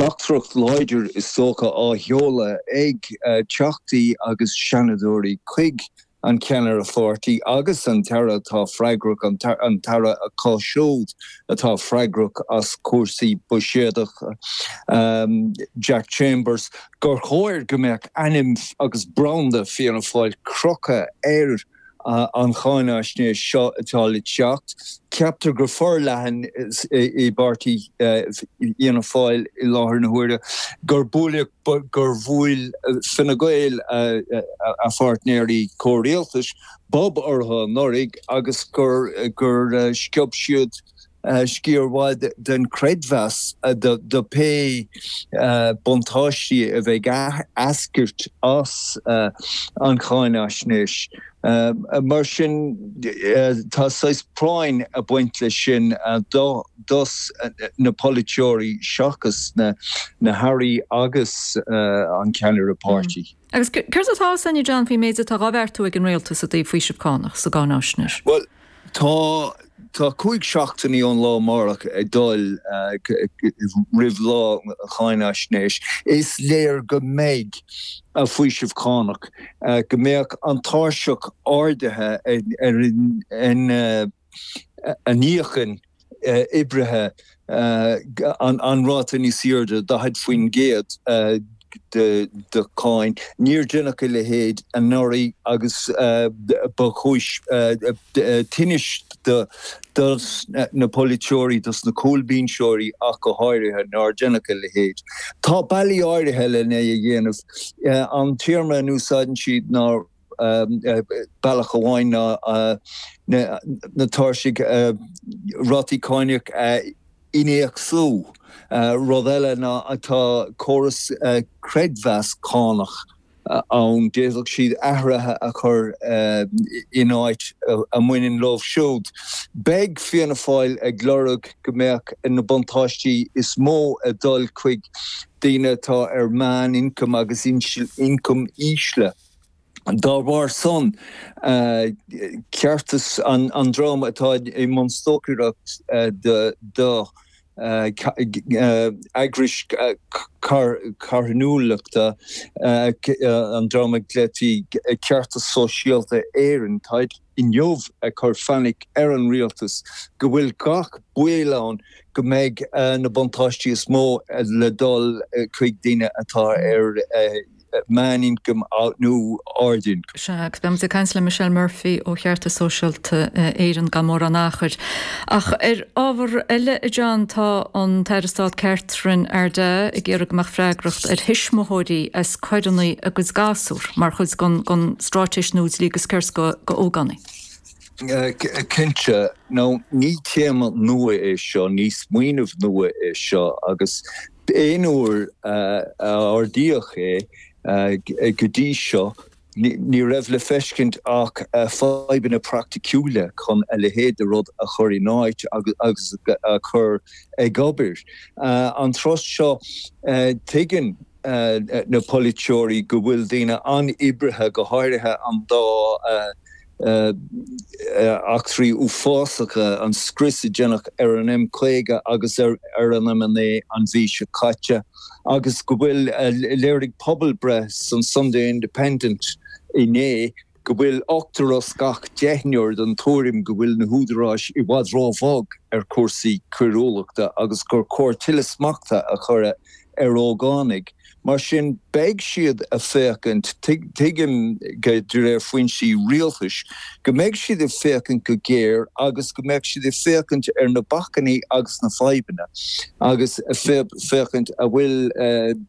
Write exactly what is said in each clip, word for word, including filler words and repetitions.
teachtaireacht láidir is dócha á sheoladh ag teachtaí agus seanadóirí chuig an ceannaire pháirtí agus an t-aire atá freagrach an t-aire acu siúd atá freagrach as cúrsaí buiséadacha um, Jack Chambers gur chóir go mbeadh ainm agus branda Fianna Fáil crochta ar uh, an cháinaisnéis seo atá le teacht. Ceaptar go forleathan i bpáirtí Fhianna Fáil i láthair na huaire gur buail gur bhuail Fine Gael a pháirtnéirí comhrialtais bob orthu anuraidh agus gur gur sciob siad sciar mhaith den creidmheas do pé buntáistí a bheidh ag eascairt as an cháinaisnéis. Mar sin tá saghas práinn ag baint leis sin do dos na polaiteoirí seachas na na hairí agus an ceannaire páirtí. Agus céard atá san John faoin méid atá á bheartú ag an rialtas i dtaobh faoiseamh cánach sa gcáinaisnéis. Well tá Tá cúig seachtainí ón lá amárach ag dul roimh lá cháinaisnéis. Is léir go mbeidh a faoiseamh cánach, go mbeadh an tairseach ardaithe ar an a n-íocann oibrithe an ráta níos airde daichead faoin gcéad de de cháin. Níor deineadh a leithéid anuraidh agus ba chúis tinnis do dos na polaiteoirí, dos na cúlbhinseoirí ach go háirithe nár deineadh a leithéid. Tá bealaí áirithe lena é a dhéanamh. An téarma a úsáideann siad ná bealach amháin ná na tairsigh rátaí cánach a innéacsú. Rud eile ná tá córas creidmheas cánach ann, d'fhéadfadh siad athruithe a chur in áit a mbaineann leo siúd. Beidh Fianna Fáil ag lorg go mbeadh na buntáistí is mó ag dul chuig daoine atá ar mheánioncam agus ioncam ísle. Dá bharr san, ceartas an dream atá i mbun stocaireacht do eagrais carthanúlachta, an dream a glaoití Ceartas Sóisialta Éireann, táid inniu ag cur fainic ar an rialtas go bhfuil gach baol ann go mbeidh na buntáistí is mó le dul chuig daoine atá ar meánioncam nó ardioncam. Sea, agus beidh muid ag caint le Michelle Murphy ó Cheartas Sóisialta Éireann gan mórán achair. Ach ar ábhar eile, a John, tá an tAire Stáit Catherine Ardagh ag iarraidh go mbeadh freagracht ar thuismitheoirí as coireanna a gcuid gasúr mar chuid den straitéis nua dlí agus cirt d'ógánaigh. Cinnte, nó ní téama nua é seo, ní smaoineamh nua é seo agus aon uair a ardaíodh é go dtí seo, ní raibh le feiscint ach fadhbanna praiticiúla chun a leithéid de rud a chur in áit agus a chur ag obair. An turas seo, tuigeann na polaiteoirí go bhfuil daoine an-oibrithe, go háirithe an dá eachtraí uafásacha, an scrios a deineadh ar an M caoga agus ar an M a naoi an mhí seo caite, agus go bhfuil, léirigh pobalbhreith san Sunday Independent inné go bhfuil ochtar as gach deichniúr den tuairim go bhfuil na húdaráis i bhfad róbhog ar chúrsaí coiriúlachta agus gur chóir tuilleadh smachta a chur ar ógánaigh. Mar sin, beidh siad ag féachaint, tuigim de réir foinsí rialtais, go mbeidh siad ag féachaint go géar agus go mbeidh siad ag féachaint ar na bacainní agus na fadhbanna agus féachaint an bhfuil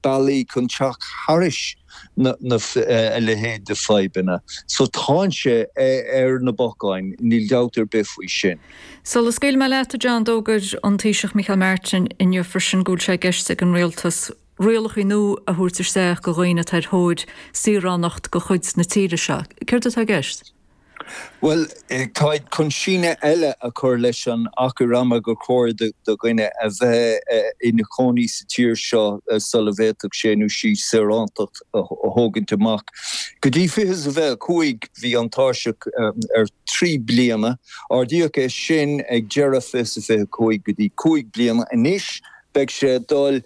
bealaí chun teacht thairis na a leithéid de fadhbanna. So tá sé ar na bacáin, níl dabht ar bith faoi sin. Sula scaoilfidh mé leat, a John, d'fhógair an Taoiseach Micheál Martin inniu freisin go bhfuil sé i gceist ag an rialtas rialacha nua a thabhairt isteach do dhaoine atá ar thóir saoránacht de chuid na tíre seo. Céard atá i gceist? Bhuel, táid chun síneadh eile a chur leis an achar ama gur chóir do dhuine a bheith ina chónaí sa tír seo sula bhféadfadh sé nó sí saorántacht a thógaint amach. Go dtí fiche is a fiche a cúig bhí an tairseach ar trí bliana. Ardaíodh é sin ag deireadh fiche is a fiche a cúig go dtí cúig bliana. Anois beidh sé ag dul